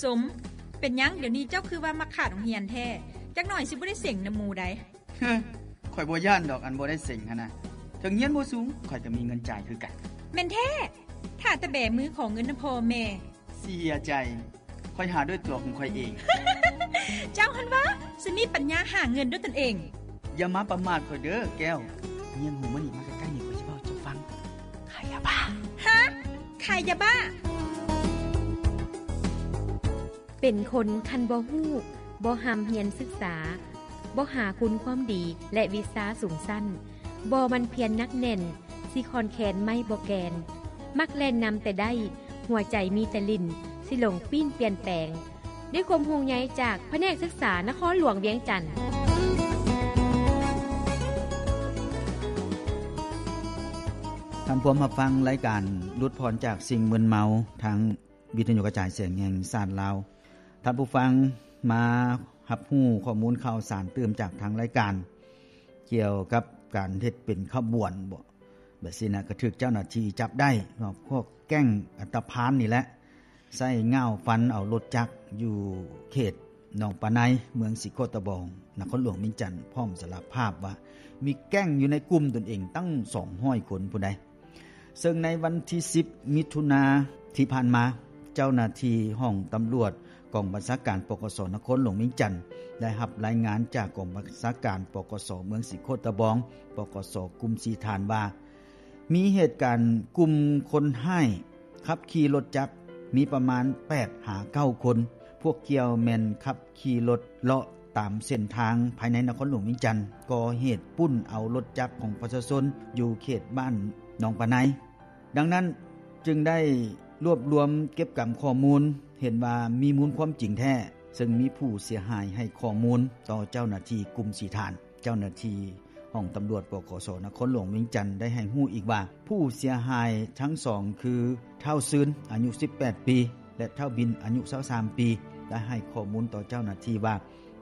ສົມ, ເປັນຫຍັງດຽວນີ້ເຈົ້າຄືວ່າມັກຂາດໂຮງຮຽນແທ້? ຈັກໜ່ອຍຊິບໍ່ໄດ້ເສັງນຳໝູ່ໃດ. ເຮີ, ຂ້ອຍບໍ່ຢ້ານດອກ ອັນບໍ່ໄດ້ເສັງຫັ້ນນະ. ເຖິງຮຽນບໍ່ສູງ ຂ້ອຍກໍມີເງິນຈ່າຍຄືກັນ. ແມ່ນແທ້? ຖ້າແຕ່ແບມືຂໍເງິນນຳພໍ່ແມ່. ເສຍໃຈ, ຂ້ອຍຫາດ້ວຍຕົວຂອງຂ້ອຍເອງ. ເຈົ້າຫັ້ນຫວາ ຊິມີປັນຍາຫາເງິນດ້ວຍຕົນເອງ. ຢ່າມາປະໝາດຂ້ອຍເດີແກ້ວ. ຍຽງຫູມານີ້ ມາໃກ້ໆນີ້ ຂ້ອຍຊິເວົ້າໃຫ້ເຈົ້າຟັງ. ຂາຍຢາບ້າ. ຮະ? ຂາຍຢາບ້າ? ເປັນຄົນຄັນບໍ່ຮູ້, ບໍ່ຮ່ຳຮຽນສຶກສາ, ບໍ່ຫາຄຸນຄວາມດີ ແລະ ວິຊາສູງຊັ້ນ, ບໍ່ໝັ່ນພຽນໜັກແໜ້ນ, ຊິຂ້ອນແຄນໄມ້ບໍ່ແກ່ນ, ມັກແລ່ນນຳແຕ່ໄດ້, ຫົວໃຈມີແຕ່ຫຼິ້ນ, ຊິຫຼົງປີ້ນປ່ຽນແປງ. ດ້ວຍຄວາມຫ່ວງໃຍຈາກພະແນກສຶກສານະຄອນຫຼວງວຽງຈັນ. ທ່ານພວມຮັບຟັງລາຍການຫຼຸດຜ່ອນຈາກສິ່ງມຶນເມົາ ທາງວິທະຍຸກະຈາຍສຽງແຫ່ງຊາດລາວ. ທ່ານຜູ້ຟັງມາຮັບຮູ້ຂໍ້ມູນຂ່າວສານຕື່ມຈາກທາງລາຍການ ກ່ຽວກັບການເຮັດເປັນຂະບວນບໍ ແບບຊີ້ນະ ກະຖືກເຈົ້າໜ້າທີ່ຈັບໄດ້ເນາະ ພວກແກ້ງອັນຕະພານນີ້ແຫຼະ ໃຊ້ງ່າວຟັນເອົາລົດຈັກຢູ່ເຂດໜອງປາໄນ ເມືອງສີໂຄດຕະບອງ ນະຄອນຫຼວງວຽງຈັນ ພ້ອມສາລະພາບວ່າມີແກ້ງຢູ່ໃນກຸ່ມຕົນເອງຕັ້ງສອງຮ້ອຍຄົນພຸ້ນໃດ. ເຊິ່ງໃນວັນທີສິບ ມິຖຸນາທີ່ຜ່ານມາ ເຈົ້າໜ້າທີ່ຫ້ອງຕຳຫຼວດ ກອງບັນຊາການ ປກສ ນະຄອນຫຼວງວຽງຈັນ ໄດ້ຮັບລາຍງານຈາກກອງບັນຊາການ ປກສ ເມືອງສີໂຄດຕະບອງ ປກສ ກຸ່ມສີ່ທ່ານວ່າ ມີເຫດການກຸ່ມຄົນຮ້າຍຂັບຂີ່ລົດຈັກ ມີປະມານແປດຫາເກົ້າຄົນ. ພວກກ່ຽວແມ່ນຂັບຂີ່ລົດເລາະຕາມເສັ້ນທາງພາຍໃນນະຄອນຫຼວງວຽງຈັນ ກໍ່ເຫດປຸ້ນເອົາລົດຈັກຂອງປະຊາຊົນຢູ່ເຂດບ້ານໜອງປາໄນ. ດັ່ງນັ້ນຈຶ່ງໄດ້ລວບລວມເກັບກຳຂໍ້ມູນ ເຫັນວ່າມີມູນຄວາມຈິງແທ້ ເຊິ່ງມີຜູ້ເສຍຫາຍໃຫ້ຂໍ້ມູນຕໍ່ເຈົ້າໜ້າທີ່ກຸ່ມສີ່ທ່ານ. ເຈົ້າໜ້າທີ່ຫ້ອງຕຳຫຼວດ ປກສ ນະຄອນຫຼວງວຽງຈັນ ໄດ້ໃຫ້ຮູ້ອີກວ່າ ຜູ້ເສຍຫາຍທັງສອງຄື ທ້າວຊືນ ອາຍຸສິບແປດປີ ແລະ ທ້າວບິນ ອາຍຸຊາວສາມປີ ໄດ້ໃຫ້ຂໍ້ມູນຕໍ່ເຈົ້າໜ້າທີ່ວ່າ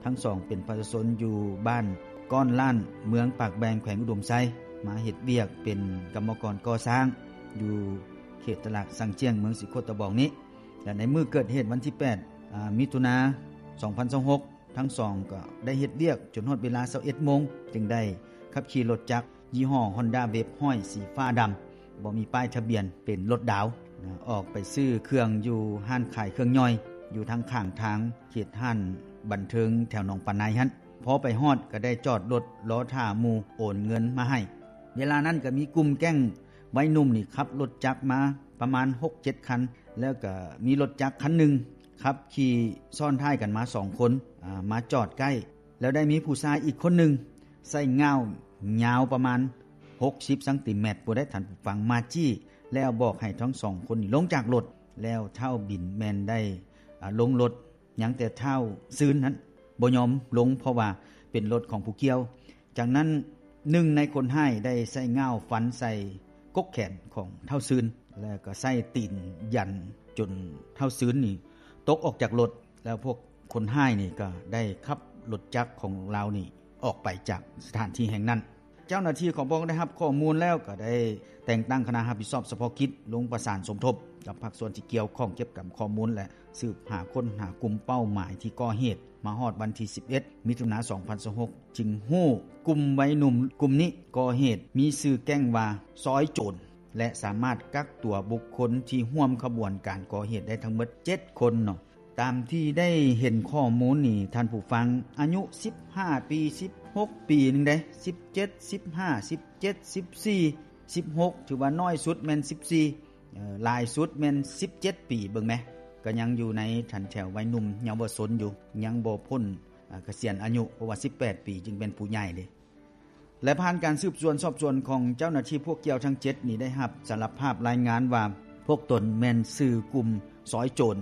ທັງສອງເປັນປະຊາຊົນຢູ່ບ້ານກ້ອນລ້ານ ເມືອງປາກແບງ ແຂວງອຸດົມໄຊ ມາເຮັດວຽກເປັນກຳມະກອນກໍ່ສ້າງ ຢູ່ເຂດຕະຫຼາດຊັງຈຽງ ເມືອງສີໂຄດຕະບອງນີ້ ແລະ ໃນມື້ເກີດເຫດວັນທີແປດ ອາ ມິຖຸນາ ສອງພັນຊາວຫົກ ທັງສອງກໍໄດ້ເຮັດວຽກຈົນຮອດເວລາຊາວເອັດໂມງ ຈຶ່ງໄດ້ຂັບຂີ່ລົດຈັກຍີ່ຫໍ້ Honda Wave ຮ້ອຍ ສີຟ້າດຳ ບໍ່ມີປ້າຍທະບຽນ ເປັນລົດດາວນະ ອອກໄປຊື້ເຄື່ອງຢູ່ຮ້ານຂາຍເຄື່ອງຍ່ອຍ ຢູ່ທາງຂ້າງທາງ ເຂດຮ້ານບັນເທີງແຖວໜອງປາໄນຫັ້ນ. ພໍໄປຮອດກໍໄດ້ຈອດລົດລໍຖ້າໝູ່ໂອນເງິນມາໃຫ້. ເວລານັ້ນກໍມີກຸ່ມແກ້ງໄວໜຸ່ມນີ້ຂັບລົດຈັກມາປະມານຫົກເຈັດຄັນ ແລ້ວກໍມີລົດຈັກຄັນໜຶ່ງຂັບຂີ່ຊ້ອນທ້າຍກັນມາສອງຄົນ ອາ ມາຈອດໃກ້ ແລ້ວໄດ້ມີຜູ້ຊາຍອີກຄົນໜຶ່ງໃຊ້ງ່າວຍາວປະມານຫົກສິບຊັງຕີແມັດ ຜູ້ໃດທ່ານຜູ້ຟັງ ມາຈີ້ ແລ້ວບອກໃຫ້ທັງສອງຄົນນີ້ລົງຈາກລົດ ແລ້ວທ້າວບິນແມ່ນໄດ້ ອາ ລົງລົດ ຍັງແຕ່ທ້າວຊືນນັ້ນບໍ່ຍອມລົງ ເພາະວ່າເປັນລົດຂອງຜູ້ກ່ຽວ. ຈາກນັ້ນ ໜຶ່ງໃນຄົນຮ້າຍໄດ້ໃຊ້ງ່າວຟັນໃສ່ກົກແຂນຂອງທ້າວຊືນ ແລ້ວກໍໃຊ້ຕີນຢັນຈົນທ້າວຊືນນີ້ຕົກອອກຈາກລົດ ແລ້ວພວກຄົນຮ້າຍນີ້ກໍໄດ້ຂັບລົດຈັກຂອງລາວນີ້ອອກໄປຈາກສະຖານທີ່ແຫ່ງນັ້ນ. ເຈົ້າໜ້າທີ່ຂອງພວກໄດ້ຮັບຂໍ້ມູນແລ້ວ ກໍໄດ້ແຕ່ງຕັ້ງຄະນະຮັບຜິດຊອບສະເພາະກິດລົງປະສານສົມທົບກັບພາກສ່ວນທີ່ກ່ຽວຂ້ອງ ເກັບກຳຂໍ້ມູນ ແລະ ສືບຫາຄົ້ນຫາກຸ່ມເປົ້າໝາຍທີ່ກໍ່ເຫດ. ມາຮອດວັນທີສິບເອັດ ມິຖຸນາ ສອງພັນຊາວຫົກ ຈຶ່ງຮູ້ກຸ່ມໄວໜຸ່ມກຸ່ມນີ້ກໍ່ເຫດ ມີຊື່ແກ້ງວ່າຊອຍໂຈນ ແລະ ສາມາດກັກຕົວບຸກຄົນທີ່ຮ່ວມຂະບວນການກໍ່ເຫດໄດ້ທັງໝົດເຈັດຄົນເນາະ. ຕາມທີ່ໄດ້ເຫັນຂໍ້ມູນນີ້ ທ່ານຜູ້ຟັງ, ອາຍຸສິບຫ້າປີ ສິບຫົກປີໜຶ່ງເດ້, ສິບເຈັດ ສິບຫ້າ ສິບເຈັດ ສິບສີ່ ສິບຫົກ ຖືວ່ານ້ອຍສຸດແມ່ນສິບສີ່, ເອີ ຫຼາຍສຸດແມ່ນສິບເຈັດປີ. ເບິ່ງແມ, ກໍຍັງຢູ່ໃນຖັນແຖວໄວໜຸ່ມເຍົາວະຊົນຢູ່, ຍັງບໍ່ພົ້ນ ອາ ກະສຽນອາຍຸ, ເພາະວ່າສິບແປດປີຈຶ່ງເປັນຜູ້ໃຫຍ່ເດ້. ແລະ ຜ່ານການສືບສວນສອບສວນຂອງເຈົ້າໜ້າທີ່ພວກກ່ຽວທັງເຈັດນີ້ ໄດ້ຮັບສາລະພາບລາຍງານວ່າ ພວກຕົນແມ່ນຊື່ກຸ່ມຊອຍໂຈນ,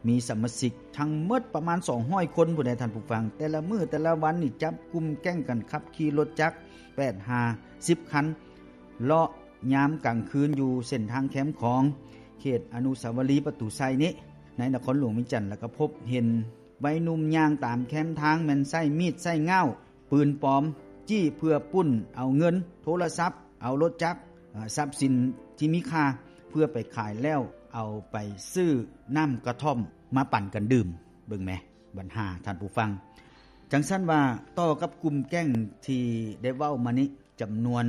ມີສະມາຊິກທັງໝົດປະມານສອງຮ້ອຍຄົນພຸ້ນໃດທ່ານຜູ້ຟັງ. ແຕ່ລະມື້ແຕ່ລະວັນນີ້ ຈັບກຸ່ມແກ້ງກັນຂັບຂີ່ລົດຈັກແປດຫາສິບຄັນ ເລາະຍາມກາງຄືນຢູ່ເສັ້ນທາງແຄມຂອງ ເຂດອະນຸສາວະລີປະຕູໄຊນີ້ ໃນນະຄອນຫຼວງວຽງຈັນ, ແລ້ວກໍພົບເຫັນໄວໜຸ່ມຍ່າງຕາມແຄມທາງ ແມ່ນໃຊ້ມີດໃຊ້ງ່າວ ປືນປອມ ຈີ້ເພື່ອປຸ້ນເອົາເງິນ, ໂທລະສັບ, ເອົາລົດຈັກ, ອາ, ຊັບສິນທີ່ມີຄ່າເພື່ອໄປຂາຍແລ້ວ ເອົາໄປຊື້ນ້ຳກະທ່ອມມາປັ່ນກັນດື່ມ ເບິ່ງແມ ບັນຫາທ່ານຜູ້ຟັງ. ຈັ່ງຊັ້ນວ່າ ຕໍ່ກັບກຸ່ມແກ້ງທີ່ໄດ້ເວົ້າມານີ້ ຈຳນວນ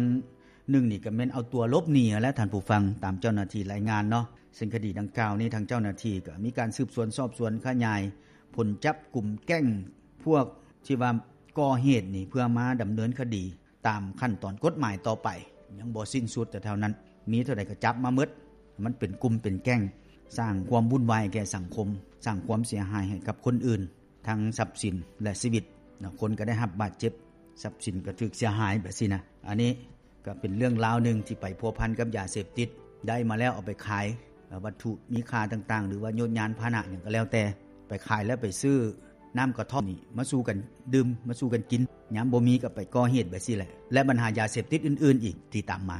ໜຶ່ງນີ້ກໍແມ່ນເອົາຕົວຫຼົບໜີຫັ້ນແຫຼະທ່ານຜູ້ຟັງ ຕາມເຈົ້າໜ້າທີ່ລາຍງານເນາະ. ເຊິ່ງຄະດີດັ່ງກ່າວນີ້ ທາງເຈົ້າໜ້າທີ່ກໍມີການສືບສວນສອບສວນຂະຫຍາຍຜົນຈັບກຸ່ມແກ້ງພວກທີ່ວ່າກໍ່ເຫດນີ້ ເພື່ອມາດຳເນີນຄະດີຕາມຂັ້ນຕອນກົດໝາຍຕໍ່ໄປ ຍັງບໍ່ສິ້ນສຸດແຕ່ເທົ່ານັ້ນ ມີເທົ່າໃດກໍຈັບມາໝົດ. ມັນເປັນກຸ່ມເປັນແກ້ງ ສ້າງຄວາມວຸ່ນວາຍແກ່ສັງຄົມ ສ້າງຄວາມເສຍຫາຍໃຫ້ກັບຄົນອື່ນ ທັງຊັບສິນ ແລະ ຊີວິດເນາະ. ຄົນກໍໄດ້ຮັບບາດເຈັບ ຊັບສິນກໍຖືກເສຍຫາຍແບບຊີ້ນະ. ອັນນີ້ກໍເປັນເລື່ອງລາວໜຶ່ງທີ່ໄປພົວພັນກັບຢາເສບຕິດ ໄດ້ມາແລ້ວເອົາໄປຂາຍ ເອີ່ ວັດຖຸມີຄ່າຕ່າງໆ ຫຼືວ່າໂຍດຍານພາຫະນະຫຍັງກໍແລ້ວແຕ່ ໄປຂາຍແລ້ວໄປຊື້ນ້ຳກະທ່ອມນີ້ມາສູ່ກັນດື່ມ ມາສູ່ກັນກິນ ຍາມບໍ່ມີກໍໄປກໍ່ເຫດແບບຊີ້ແຫຼະ ແລະ ບັນຫາຢາເສບຕິດອື່ນໆອີກທີ່ຕາມມາ.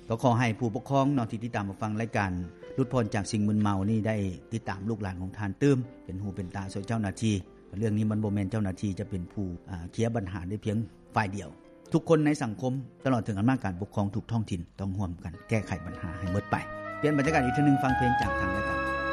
ກໍຂໍໃຫ້ຜູ້ປົກຄອງເນາະ ທີ່ຕິດຕາມຮັບຟັງລາຍການຫຼຸດຜ່ອນຈາກສິ່ງມຶນເມົານີ້ ໄດ້ຕິດຕາມລູກຫຼານຂອງທ່ານຕື່ມ ເປັນຫູເປັນຕາຊ່ວຍເຈົ້າໜ້າທີ່. ເລື່ອງນີ້ມັນບໍ່ແມ່ນເຈົ້າໜ້າທີ່ຈະເປັນຜູ້ ອາ ເຄລຍບັນຫາໄດ້ພຽງຝ່າຍດຽວ. ທຸກຄົນໃນສັງຄົມ ຕະຫຼອດເຖິງອຳນາດການປົກຄອງທຸກທ້ອງຖິ່ນ ຕ້ອງຮ່ວມກັນແກ້ໄຂບັນຫາໃຫ້ໝົດໄປ. ປ່ຽນບັນຍາກາດອີກເທື່ອໜຶ່ງ ຟັງເພງຈາກທາງລາຍການ.